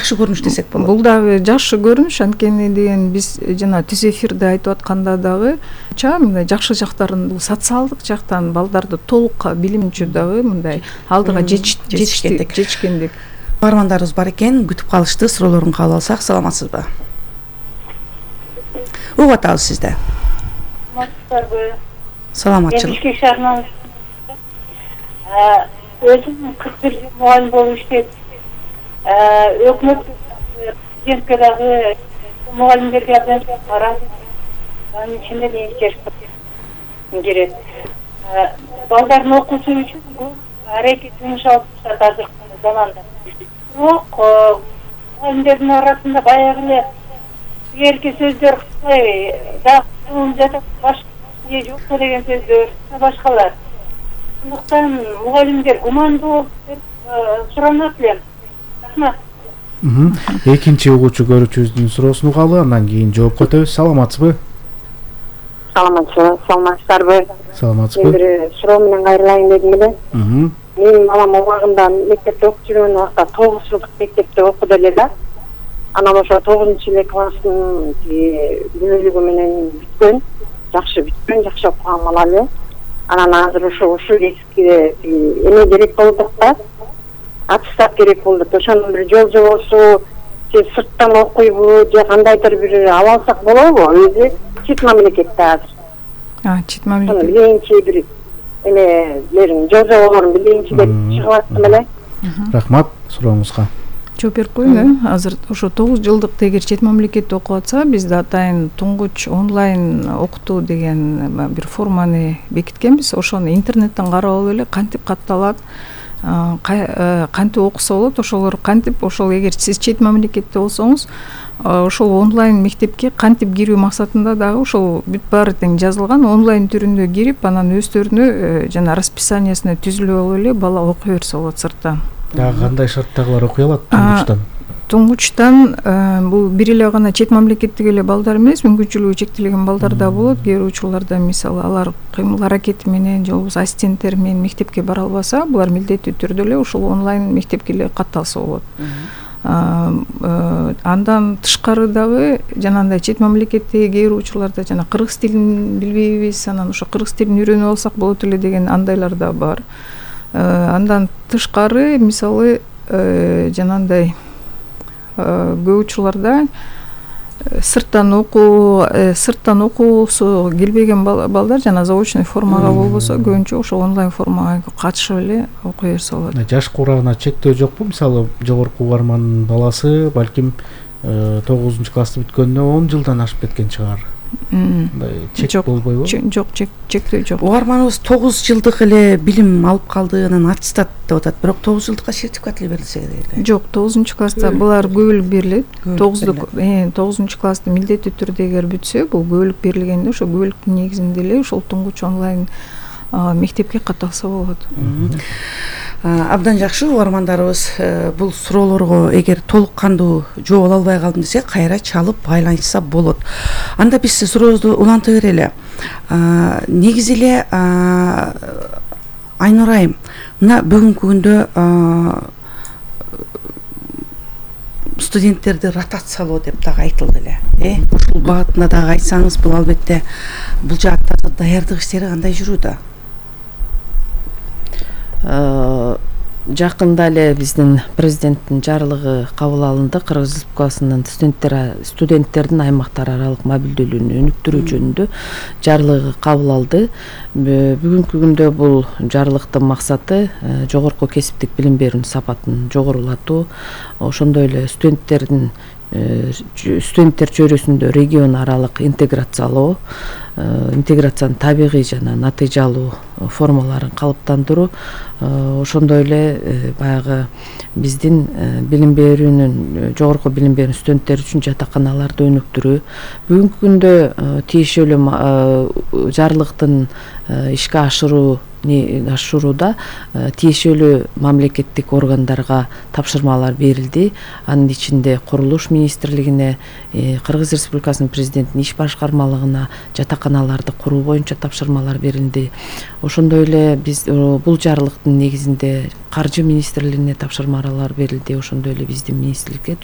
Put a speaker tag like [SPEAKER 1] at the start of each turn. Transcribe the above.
[SPEAKER 1] жакшы көрүнүш десек болот.
[SPEAKER 2] Бул дагы жакшы көрүнүш, анткени деген биз жана түз эфирде айтып атканда дагы мындай жакшы жактарын бул социалдык жактан балдарды толук билимчү дагы мындай алдыга жетишкендик.
[SPEAKER 1] Угармандарыбыз бар экен, күтүп калышты. Суроолорун кабыл алсак, саламатсызбы? Угуп атабыз сизди. Саламатчылык.
[SPEAKER 3] Бишкек шаарынан өзүм 41 жыл мугалим болуп иштеп, өкмөт президентке дагы мугалимдерге рахмат. Анын ичинде менин керек. Балдардын окуусу үчүн бул аракет жумуш алып жатат азыркы заманда. Бирок мугалимдердин арасында баягы эле эрке сөздөр дагы жатат, башка жокпу деген сөздөр, башкалар. Андыктан мугалимдер гумандуу болуп деп суранат элем. Рахмат.
[SPEAKER 4] Экинчи угуучу көрүүчүбүздүн суроосун угалы, андан кийин жоопко өтөбүз. Саламатсызбы?
[SPEAKER 3] Саламатсыздарбы?
[SPEAKER 4] Саламатсызбы?
[SPEAKER 3] Бир суроо менен кайрылайын дедим эле. Менин балам убагында мектепте окуп жүргөн убакта 9 жылдык мектепте окуду эле да. Анан ошо 9-эле класстын бөлүгү менен бүткөн, жакшы бүткөн, жакшы окуган бала эле. Анан азыр ушул эсикке эме керек болдук да. Аттестат керек болду. Ошонун бир жол жобосу же сырттан окуйбу, же кандайдыр бир ала алсак болобу? Өзү чет мамлекетте азыр.
[SPEAKER 2] Чет мамлекет.
[SPEAKER 3] Биринчи бир эмелерин, жол жоболорун биринчи деп чыгып аттым эле.
[SPEAKER 4] Рахмат сурооңузга.
[SPEAKER 2] Жооп берип коеюн. Азыр ошо 9 жылдык эгер чет мамлекетте окуп атса, бизде атайын туңгуч онлайн окутуу деген бир форманы бекиткенбиз. Ошону интернеттен карап алып эле кантип катталат, кантип окуса болот, ошолор кантип, ошол эгер сиз чет мамлекетте болсоңуз, ошол онлайн мектепке кантип кирүү максатында дагы ошол бүт баары тең жазылган, онлайн түрүндө кирип, анан өздөрүнө жана расписаниясына түзүлүп алып эле бала окуй берсе болот сырттан.
[SPEAKER 4] Дагы кандай шарттагылар окуй алат туңгучтан?
[SPEAKER 2] Туңгучтан бул бир эле гана чет мамлекеттеги эле балдар эмес, мүмкүнчүлүгү чектелген балдар да болот. Кээ бир учурларда мисалы алар кыймыл аракети менен же болбосо ассистенттери менен мектепке бара албаса, булар милдеттүү түрдө эле ушул онлайн мектепке эле катталса болот. Андан тышкары дагы жанагындай чет мамлекеттеги кээ бир учурларда жана кыргыз тилин билбейбиз, анан ошо кыргыз тилин үйрөнүп алсак болот эле деген андайлар да бар. Андан тышкары мисалы жанагындай көп учурларда сырттан окуусу келбеген балдар жана заочный формага болбосо көбүнчө ошо онлайн формага катышып эле окуй берсе болот.
[SPEAKER 4] Жаш курамына чектөө жокпу? Мисалы жогорку угармандын баласы балким 9-классты бүткөнүнө 10 жылдан ашып кеткен чыгар. Чек болбойбу?
[SPEAKER 2] Жок, чектөө жок.
[SPEAKER 1] Угарманыбыз 9 жылдык эле билим алып калды, анан аттестат деп атат. Бирок 9 жылдыкка сертификат эле берилсе эле.
[SPEAKER 2] Жок, 9-класста булар көбөлүк берилет. 9-классты милдеттүү түрдө эгер бүтсө, бул көбөлүк берилгенде ошо көбөлүктүн негизинде эле ошол туңгуч онлайн мектепке катталса болот.
[SPEAKER 1] Абдан жакшы. Угармандарыбыз бул суроолорго эгер толук кандуу жооп ала албай калдым десе, кайра чалып байланышса болот. Анда биз сурообузду уланта берели. Негизи эле Айнур айым, мына бүгүнкү күндө студенттерди ротациялоо деп дагы айтылды эле. Ушул багытында дагы айтсаңыз, бул албетте бул жаатта даярдык иштери кандай жүрүүдө?
[SPEAKER 5] Жакында эле биздин президенттин жарлыгы кабыл алынды. Кыргыз Республикасынын студенттердин аймактар аралык мобилдүүлүгүн өнүктүрүү жөнүндө жарлыгы кабыл алды. Бүгүнкү күндө бул жарлыктын максаты жогорку кесиптик билим берүүнүн сапатын жогорулатуу, ошондой эле студенттер чөйрөсүндө регион аралык интеграциянын табигый жана натыйжалуу формаларын калыптандыруу, ошондой эле баягы биздин билим берүүнүн жогорку билим берүүнүн студенттери үчүн жатаканаларды өнүктүрүү. Бүгүнкү күндө тиешелүү жарлыктын ишке ашырууда тиешелүү мамлекеттик органдарга тапшырмалар берилди. Анын ичинде Курулуш министрлигине, Кыргыз Республикасынын президентинин иш башкармалыгына жатаканаларды куруу боюнча тапшырмалар берилди. Ошондой эле биз бул жарлыктын негизинде Каржы министрлигине тапшырмалар берилди. Ошондой эле биздин министрликке